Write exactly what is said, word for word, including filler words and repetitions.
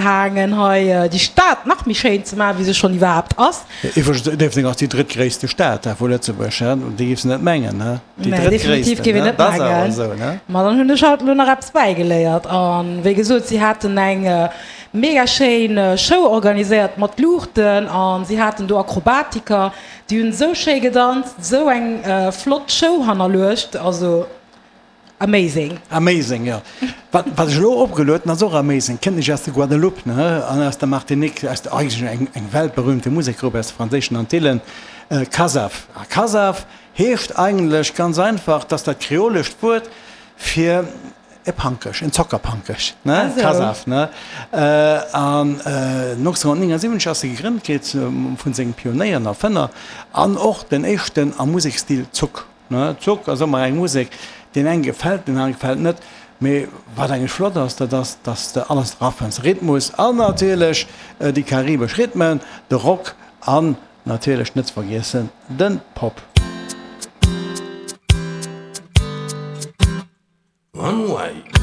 gehaangen, hei déi Stad nach méi schéin ze maachen, wéi se schonn iwwerhaapt ass. Iwwregens, Déifferdeng ass déi drëttgréisste Stad vu Lëtzebuerg, he? Déi géifs de net mengen, he? Déi Nee, definitiv drëttgréissten, géif een he? net Dat ass awer mengen. esou, ne? Ma dann hunn ech halt elo nach eppes bäigeléiert. A wéi gesot, si haten eng mega schéin Show organiséiert mat Luuchten a si haten do Akrobatiker, déi hunn esou schéi gedanzt, esou eng flott Show hannerluecht, also amazing. Amazing, jo. Wat, wat ech elo opgelueden, ass och amazing, kënnt nech aus der Guadeloupe, ne, an aus der Martinique, aus der, eigentlech eng, eng weltberühmte Musekgrupp aus de franséischen Antillen, Kassav. A Kassav heescht eigentlech ganz einfach, dass dat kreolescht Wuert fir e Pankech, en Zockerpankech, ne, Kassav, ne. An neunzehnhundertneunundsiebzig ass se gegrënnt gi vun sengem Pionéier an Erfënner an och den éischten am Musekstil Zouk. Ne, Zouk ass ëmmer eng Musek, deen enge gefält, deen anere gefält net. Mee wat eigentlech flott ass, dat ass, dass de alles drafënns, Rhythmus an natierlech déi karibesch Rhythmen, de Rock an natierlech net ze vergiessen de Pop. One way.